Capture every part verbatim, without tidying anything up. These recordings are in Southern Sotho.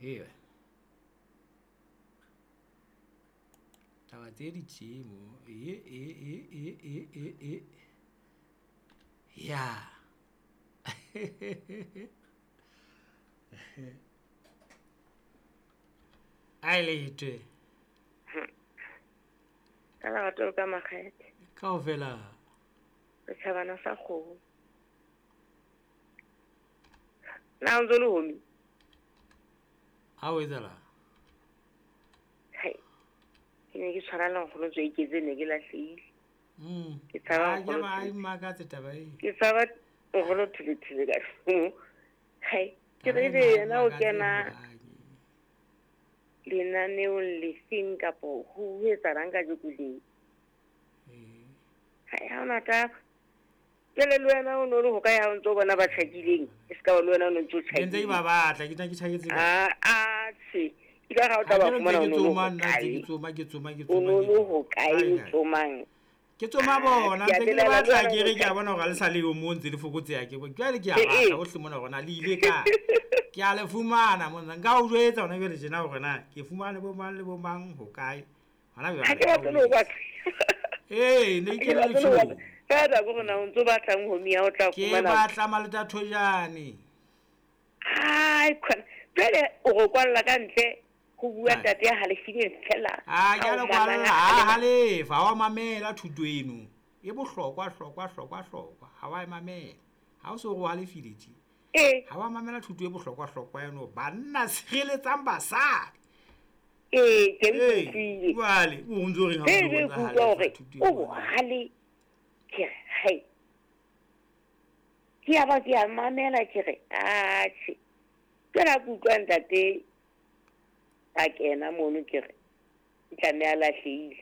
Ee taba tse di tjemo e e e e e e e ya. A letwe. Ka lerato ka makgethe. Kaofela. Setjhabana sa kgomo. Na o ntso le homi? Ha o etsahala? Hai. Ke ne ke tshwana le nkgono tswe iketse ne ke lahlehile. Mm. Ke tshaba Ah, ke nkgono ba Thulethule. makatse taba e. Ke tshaba nkgono Thulethule ka. Hai. Ke Taba re ena ebe ha e yena o makatse kena hohang. lenaneong lefeng kapo ho etsahalang kajeko le? Eh. Hai, ha hona taba. Jwale le wena o no le hokae ha o ntso bona ba tjhakileng? E se ka ba le wena o no ntso Ne ntse ke tjhakile. ba batla, ke tla ke tjhaketse kae? Ah, atjhe. Ke ka re ha o Ha tla ke ba re ntse fumana ke o no le tsoma nna, ntse hokae? ke tsoma, ke tsoma, ke O tsoma, no ke le hokae Kae, o kae? tsomang? Ke tsoma Ah, bona, ke a ntse ke le belaela le batla wena ke o re ke a tjhakile. bona hore ha le sa le yo moo ntse le fokotseha ke bo. Jwale ke a Eh, batla eh. hohle mona hore na le ile kae. Ke a le fumana mona. Nka o jwetsa hona jwale tjena hore na ke fumane bo mang le bo mang hokae. Hona Ha jwale ke ka o batle le ho jwetsa. batla. Ee, ne Ha ke ke le batle le ho batla. letsholo. Feela ke hore na o ntso batlang homie ha o tla Ke fumana. batla Maleta Thojane. Ai khona. Jwale o re kwalla ka ntle ho bua Ai. ntate ya halefileng fela. Ah, ke Ha a o le mamang kwalla, a ha halefa. halefa, ha wa mamela thuto eno. E bohlokwa hlokwa hlokwa hlokwa. Ha wa e mamela. Ha o so re o halefile tje. Eh. Ha wa mamela thuto e bohlokwa hlokwa eno. Banna sireletsang basadi. Eh, ke Ee, utlwile. jwale o ntso reng ha o Ee, ntso ke bontsha utlwa halefa hore thuto o e bohale. Ke re, hai. Ke ya ba ke a mamela ke re, atjhe. Jwale ha ke utlwa ntate a kena mono ke re, e tlameha a lahlehile.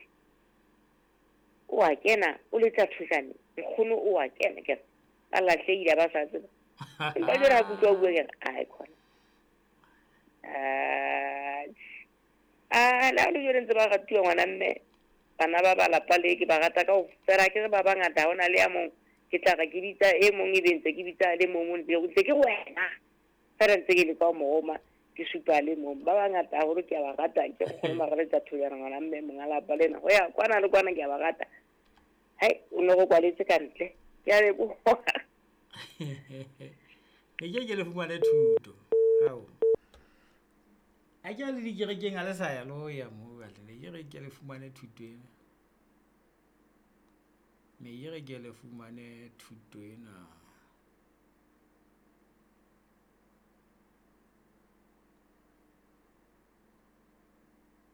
O a kena, o letsa thojane. Nkgono o a kena ke re, ba lahlehile ha ba sa tseba. Empa jwale ha ke utlwa o bua ke re, ai khona. Atjhe. Ah, le ha le jwale ntse ba ratuwa ngwana mme. Bana ba ba lapa le ke ba rata kaofela, ke re ba bangata ha hona le ya mong. Ke tla re ke bitsa e mong ebe ntse ke bitsa le mong, ntse ntse ke re wena. Feela ntse ke leka ho mo roma, ke supa le mong. Ba bangata haholo ke a ba rata, ke nkgono Maraletsa Thojana ngwana mme monga lapa lena. Ho ya kwana le kwana ke a ba rata. Hai, o no re kwaletse ka ntle. Ke a leboha. Ne ke ke le fumane thuto. Hao. A ke le dikerekeng ha le sa ya le ho ya moo jwale. Ne ke re ke le fumane thuto ena. Ne ke re ke le fumane thuto ena.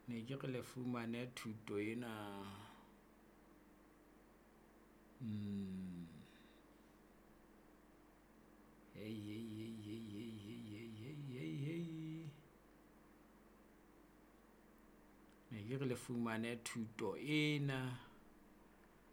Ne ke re le fumane thuto ena. Mm. Hey, hey, hey, hey, hey, hey, hey, hey, hey, hey. Ne ke re le fumane thuto ena.